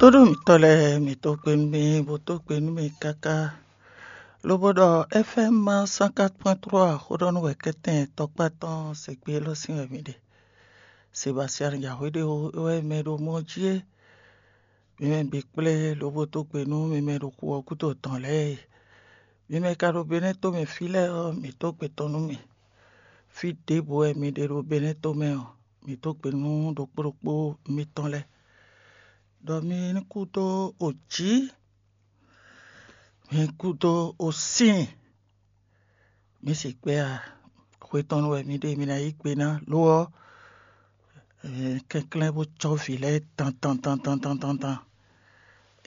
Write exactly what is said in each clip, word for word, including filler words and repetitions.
Tóɖó mǐtɔn lɛ́ɛ, mǐ dó gbe nú mì, bó dó gbe nú mì káká, lobo ɖɔ F M cent quatre point trois xó ɖɔ nú wɛ kɛ́tɛn tɔkpá tɔn se gbé élɔ́ sín wɛ mǐ ɖe. Sebastian Jahwéɖéwo é wɛ mɛ ɖo mɔ jí é. Mi mɛ bǐ kplé lobo dó gbe nú mi mɛ ɖo xu ɔ́ gúdo tɔn lɛ́ɛ e. Mi mɛ ka ɖo Benɛ́ tomɛ fí lɛ́ɛ ɔ́, mǐ dó gbe tɔn nú mi. Fí ɖěbǔ wɛ mi ɖe ɖo Benɛ́ tomɛ ɔ́, mǐ dó gbe nú ɖokpó ɖokpó mitɔn lɛ́ɛ, ɖɔ mi ní kú dó o jǐ, mi ní kú dó o sín. Mi se kpɛ́ a? Xwe tɔn nu wɛ mi ɖe mi ná yí gbe ná, lo ɔ́, kɛnklɛ́n bó cɔ́ vǐ lɛ́ɛ tan tan tan tan tan tan tan.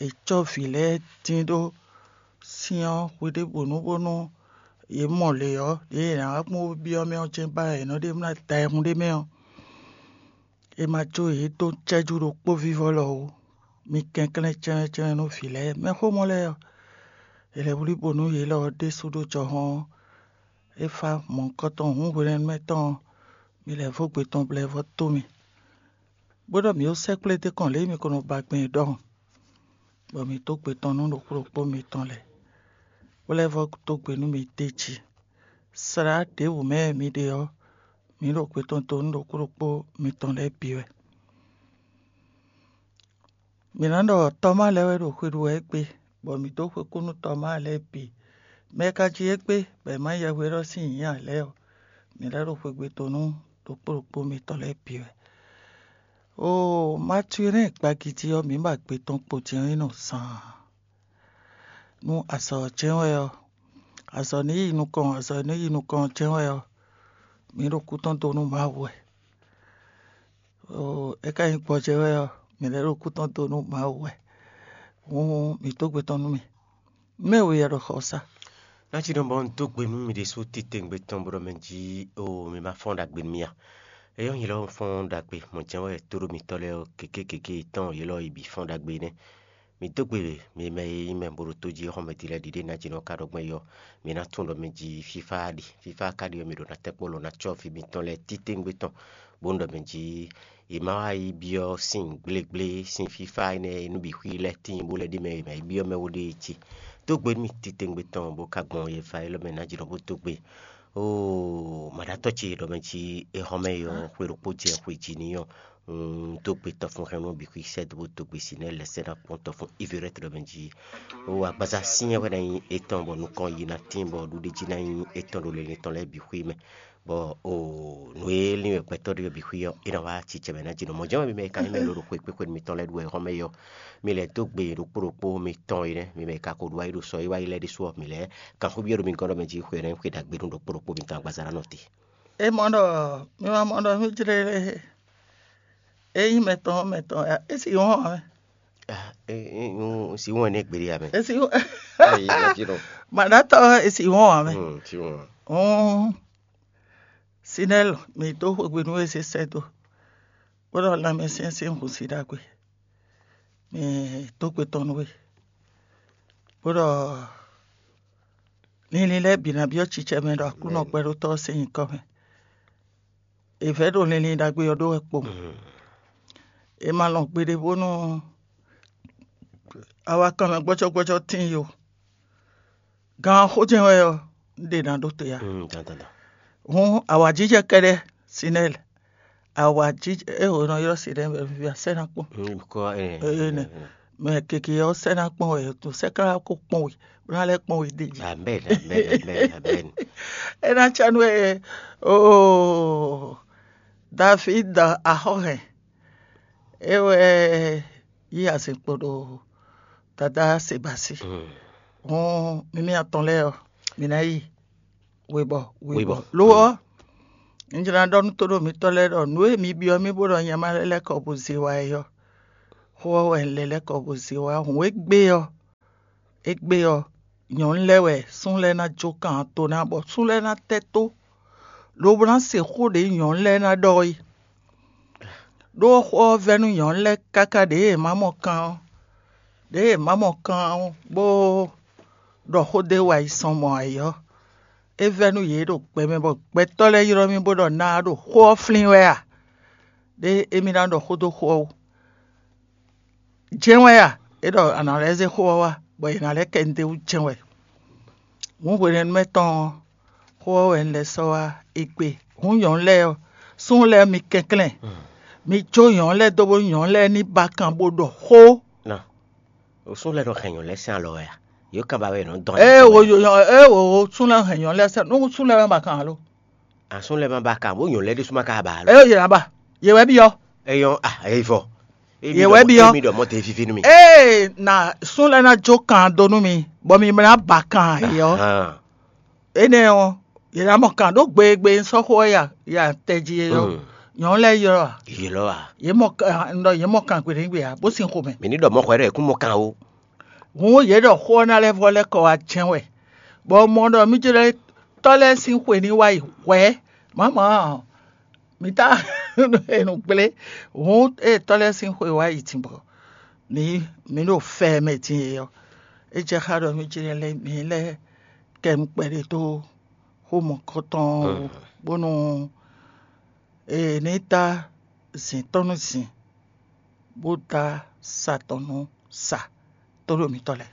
È cɔ́ vǐ lɛ́ɛ dín ɖó syɛ́n ɔ́ hweɖěbǔnu bónú yě mɔ lě ɔ́, ɖěe è nǎ wá kpɔ́n bó byɔ́ mɛ ɔ́ jɛ́n ba wɛ è nɔ ɖe mlá da ayihún ɖé mɛ ɔ́, è ma jó yě dó cɛ́jú ɖokpó vívɔ́ lɔ ó. Mi kɛnklɛ́n cɛ́nwɛ́cɛ́nwɛ́ nú vǐ lɛ́ɛ. Mɛxómɔ lɛ́ɛ ɔ́, è lɛ́ wlí bo nú yě lɔ ɔ́ ɖésú ɖó jɔhɔn ɔ́, é fá mɔ̌hunkɔtɔn hǔn hwenɛ́nu mɛ tɔn ɔ́, mi lɛ́ vɔ́ gbe tɔn blɛ́ vɔ́ tó mì, bó ɖɔ mǐ ó sɛ́kplé dó kɔn lě e mi ko nɔ ba gbɛn é ɖɔhun, bɔ mǐ dó gbe tɔn nú ɖokpó ɖokpó mitɔn lɛ́ɛ, bó lɛ́ vɔ́ dó gbe nú mi d'é jí. Slá ɖěbǔ mɛ e mi ɖe ɔ́, mǐ ɖo gbe tɔn dó nú ɖokpó ɖokpó mitɔn lɛ́ɛ bǐ wɛ. Mǐ ná ɖɔ Tɔmáa lɛ́ɛ wɛ ɖo xwe ɖu wɛ égbé, bɔ mǐ dó xwe kú nú Tɔmáa lɛ́ɛ bǐ. Mɛ e ka jí égbé, bɔ è má yɛhwe élɔ́ sín nyǐ ǎ lɛ́ɛ ɔ́, mǐ lɛ́ ɖo xwegbe tɔn nú ɖokpó ɖokpó mitɔn lɛ́ɛ bǐ wɛ. Oo, Matilɛ́ɛn gbagidi ɔ́, mǐ ba gbe tɔn kpo din ɔ́ nyi nɔ zaan. Nú azɔ̌ ɔ́ jɛ́n wɛ ɔ́, azɔ̌ ní yi nukɔn, azɔ̌ ní yi nukɔn ɔ́ jɛ́n wɛ ɔ́, mǐ ɖo kú tɔn dó nú Mawu wɛ. Oo, é ka nyí gbɔjɛ́ wɛ ɔ́, mǐ lɛ́ ɖo kú tɔn dó nú Mawu wɛ. Hǔn mǐ dó gbe tɔn nú mì. Mɛ we yɛ ɖo xɔ sá. Ná cí ɖɔ bɔ un dó gbe nú mi ɖésú titewungbe tɔn bó ɖɔ mɛ jí o mi ma fɔ́n ɖagbe nú mì a? Éyɔ́ nyilɔ fɔ́n ɖagbe mɔ̌ jɛ́n wɛ tóɖó mitɔ́ lɛ́ɛ ɔ́, gěgé gěgé tɔn yě lɔ yi bǐ fɔ́n ɖagbe nɛ́. Mi dó gbe mi mɛ e nyí mɛ bo ɖo tó jí xɔmɛ din lɛ́ɛ ɖiɖe ná jínɔ ka ɖɔ gbɔn é ɔ́, mi ná tunwun ɖɔ mɛ jí fífá ɖi. Fífá ka ɖi ɔ́, mi ɖo ná tɛ́nkpɔ́ lɔ ná cɔ́ fí mitɔn lɛ́ɛ titewungbe tɔn, bónú ɖɔ mɛ jí è má wá yi byɔ́ sin gblégblé sín fífá énɛ́ e nú bǐ xwí lɛ́ɛ tíin bó lɛ́ ɖi mɛ è má yi byɔ́ mɛ ó ɖée jí. Dó gbe nú mì titewungbe tɔn bó ka gbɔn yɛ va élɔ́ mɛ ná jínɔ bó dó gbe. Oo, mǎɖátɔ́ ce ɖɔ mɛ jí é xɔ mɛ é ɔ́, xwe ɖokpó jɛ xwe jí n'i ɔ́, un dó gbe tɔfun hɛn nú bǐ xwí sɛ́ dó bó dó gbe sin nɛ́ lɛ̌ sɛ́ ná kpɔ́n tɔfun Ivéret ɖɔ mɛ jí. Oo, agbaza syɛ́n wɛ ná nyí étɔn bɔ nukɔn yi ná tíin bɔ ɖuɖéjí ná nyí étɔn ɖo linlin tɔn lɛ́ɛ bǐ xwí mɛ. Bɔ oo, nǔ e lin wɛ gbɛtɔ́ ɖé ɔ́ bǐ xwí ɔ́, é ná wá acicɛ mɛ ná jínɔ. Mɔ̌ jɛ́n wɛ mi mɛ e ka nyí mɛ lǒ ɖo xwé kpéxwé nú mitɔn lɛ́ɛ ɖu wɛ xɔ́mɛ é ɔ́, mi lɛ́ dó gbe ɖokpó ɖokpó mitɔn é nɛ́, mi mɛ e ka ko ɖu wá yi ɖo sɔ e wá yi lɛ́ɛ ɖésú ɔ́, mi lɛ́ kan xó byɔ́ ɖo mi gɔ́n ɖɔ mɛ jí xwe nɛ́ xwe ɖagbe nú ɖokpó ɖokpó mitɔn agbaza ná nɔ te. É mɔ ɖɔ mi ma mɔ ɖɔ mí jlé é nyí mɛtɔn mɛtɔn ya, é sì wɔn ɔ́ mɛ. Ah, é é un si wɔn ne gbeɖe ya mɛ. É sì wɔn Ayi, na fi nɔ. Maɖatɔ é sì wɔn ɔ́ mɛ. Hmm, si wɔn. Hɔn Sinɛl mi dó xwegbe nú é sésɛ dó, bó ɖɔ lanmɛsyɛn sín hǔn sí ɖagbe. Mi dó gbe tɔn nú we, bó ɖɔ linlin lɛ́ɛ bǐ ná byɔ́ cicɛ mɛ ɖo Aklúnɔ gbɛɖótɔ́ ɔ́ sín nyǐkɔ mɛ. È vɛ̌ ɖo linlin ɖagbe ɔ́ ɖó wɛ kpo. È ma lɔn gbeɖé bónú awakanmɛ gbɔ́jɔ́gbɔ́jɔ́ tíin yo. Gan xó jɛ́n wɛ ɔ́, un ɖe ná ɖó te ya. Hǔn awǎjijɛ kɛ́ɖɛ́, Sinɛ́l, awǎjijɛ é ho nɔ ylɔ́ Sinɛ́l wɛ vívá sɛ́ ná kpɔ́n. Kɔ ɛ Ee, nɛ. Mɛ keke ɔ́ sɛ́ ná kpɔ́n wɛ, to sɛ́ ká kó kpɔ́n we, bó ná lɛ́ kpɔ́n we ɖe jí. Amen, amen, amen, amen. É ná cá nú ɛ oo David axɔ́hɛn, é wɛ yí azɛn kpo ɖo dadá Sebasi. Hɔn mimi atɔn lɛ́ɛ ɔ́, mi ná yi webɔ webɔ. Webɔ. Lo ɔ́, un jlá ɖɔ nú tóɖo mitɔ́ lɛ́ɛ ɖɔ nǔ e mi byɔ́ mì bó ɖɔ nyɛ ma lɛ́ lɛ́ kɔ bó zé wa é ɔ́, xó ɔ́ wɛ un lɛ́ lɛ́ kɔ bó zé wa. Hǔn égbé ɔ́, égbé ɔ́, nyɔ̌nu lɛ́ɛ wɛ súnnu lɛ́ɛ ná jó kan to ná bɔ súnnu lɛ́ɛ ná tɛ́ tó, lobo ná se xó ɖě nyɔ̌nu lɛ́ɛ ná ɖɔ é. Ɖó xó ɔ́ vɛ́ nú nyɔ̌nu lɛ́ɛ káká ɖěe è má mɔ kan ɔ́, ɖěe è má mɔ kan ɔ́, bó ɖɔ xó ɖé wa yi sɔn mɔ̌ ǎ é ɔ́, é vɛ́ nú yě ɖo gbɛ mɛ bɔ gbɛtɔ́ lɛ́ɛ ylɔ́ mì bó ɖɔ ná ɖo xó ɔ́ flín wɛ a? Ɖé émí ná ɖɔ xó dó xó ɔ́ wú. Jɛ́n wɛ a? É ɖɔ a nǎ lɛ́ zé xó ɔ́ wá, bɔ è nǎ lɛ́ kɛ un d'é wú jɛ́n wɛ. Hǔn hwenɛ́nu mɛ tɔn ɔ́, xó ɔ́ wɛ un lɛ́ sɔ́ wá égbé. Hǔn nyɔ̌nu lɛ́ɛ ɔ́, súnnu lɛ́ɛ mi kɛnklɛ́n, mi jó nyɔ̌nu lɛ́ɛ dó bónú nyɔ̌nu lɛ́ɛ ní ba kan bó ɖɔ xó. Nɔ, o sún lɛ́ɛ nɔ hɛn nyɔ̌nu lɛ́ɛ sín alɔ wɛ a? Yě kan ba wɛ nɔ dɔn. Ée wò yǒ ée wò súnnu lɛ́ɛ hɛn nyɔ̌nu lɛ́ɛ sɛn nú súnnu lɛ́ɛ ma ba kan alo? Asún lɛ́ɛ ma ba kan bó nyɔ̌nu lɛ́ɛ ɖésú ma ka ba alo. Ée yě ná ba, yě wɛ byɔ́. Eyɔn ah eyi vɔ. Yě wɛ byɔ́. Mi ɖɔ mɔ te vivi nú mi. Ée na súnnu lɛ́ɛ ná jó kan dó nú mi, bɔ mi ná ba kan yě ɔ́. Énɛ́ ɔ́, yě ná mɔ kan ɖó gbegbe sɔ́ xó ɔ́ ya ya tɛjí é ɔ́. Nyɔ̌nu lɛ́ɛ ylɔ́ a? Yě lɔ a? Yě mɔ kan ɖɔ yě mɔ kan gbeɖégbé a bó sin xomɛ. Mi ní ɖɔ mɔxɔ ɖɔ kún mɔ kan o. Hǔn yě ɖɔ xó ɔ́ ná lɛ́ vɔ lɛ́ kɔ wá jɛ́n wɛ, bɔ mɔ ɖɔ mí jlɛ́ tɔ́ lɛ́ɛ sín xwe ní wá yi hwɛ̌. Mǎmǎ, mi tá è nɔ gblé. Hǔn ée tɔ́ lɛ́ɛ sín xwe wá yi din bɔ ní mǐ ɖo fɛ mɛ din é ɔ́, é jɛ xá ɖɔ mí jlɛ́ lɛ́ mǐ lɛ́ kɛ nukpɛ́ ɖé dó xó mɔ̌kɔtɔn ɔ́ wú, bónú è ní dá zǐn tɔn nú zǐn, bó dá sa tɔn nú sa tó ɖo mǐtɔn lɛ́ɛ.